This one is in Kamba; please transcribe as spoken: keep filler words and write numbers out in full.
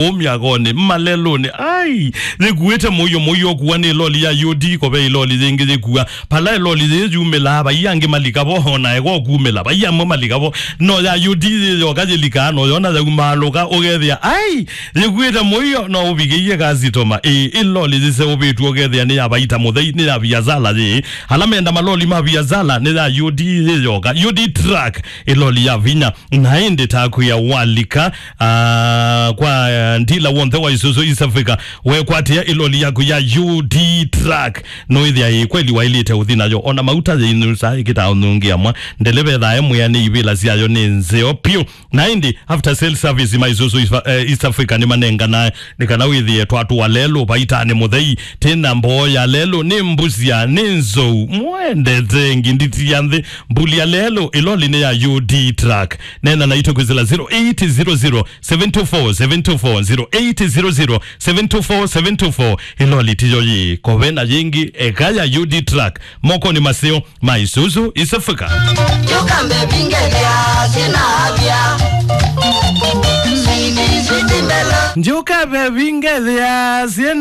kũu myakonĩ, malelũnĩ. Ai, yĩkuĩte mũio, mũio ũkua nĩ loli ya U D, kove ĩloli yĩngĩ yĩkua. Pala ĩloli yĩĩ yumĩlaa, vai angĩ malika vo, o na ĩko kumĩla, vai amwe malika vo. No ya U D yĩyoka yĩlikaa, no yona yaumaalũka, ũkethĩa, ai, yĩkuĩte mũio, no ũvikĩie kasitoma. Ĩ, ĩloli yĩseũvĩtw'e, ũkethĩa nĩ ya vaita mũthei, nĩ ya viasala yĩĩ. Ala menda maloli ma viasala, nĩ ya U D yĩyoka. U D truck, ĩloli ya vinya. Na ĩndĩ takwĩa walika, ah, kwa, ah, ndila w'onthe wa Isuzu East Africa, wekwatĩa ĩloli yaku ya U D truck, no ĩthĩa ĩ kweli waĩlĩte ũthi nayo. Ona mauta yĩinusa ĩkĩtaa ũnungia mwa. Ndeleva ethaa emwĩa nĩ ivĩla syayo nĩ nzeo piũ. Na ĩndĩ after sale service ma Isuzu East, eh, East Africa nĩmanenganae nĩ kana wĩthĩe twatũa lelũ vaitanĩ mũthei. Tena mboo ya lelũ nĩ mbusya, nĩ nzou. Mwendete nginditi ya nthĩ. Mbuli ya lelũ, ĩloli nĩ ya U D truck. Nena naitũ kwĩsĩla zero eight zero zero, seven two four, seven two four, zero eight zero zero, seven two four, seven two four. Ĩloli tiyo yĩ, kove na yĩngĩ, eka ya U D truck. Mokonĩ maseo ma Isuzu East Africa. Yuka mbevingethya sina avya. Sweetie, sweetie mbelo. Ndyũka vevingethya syĩ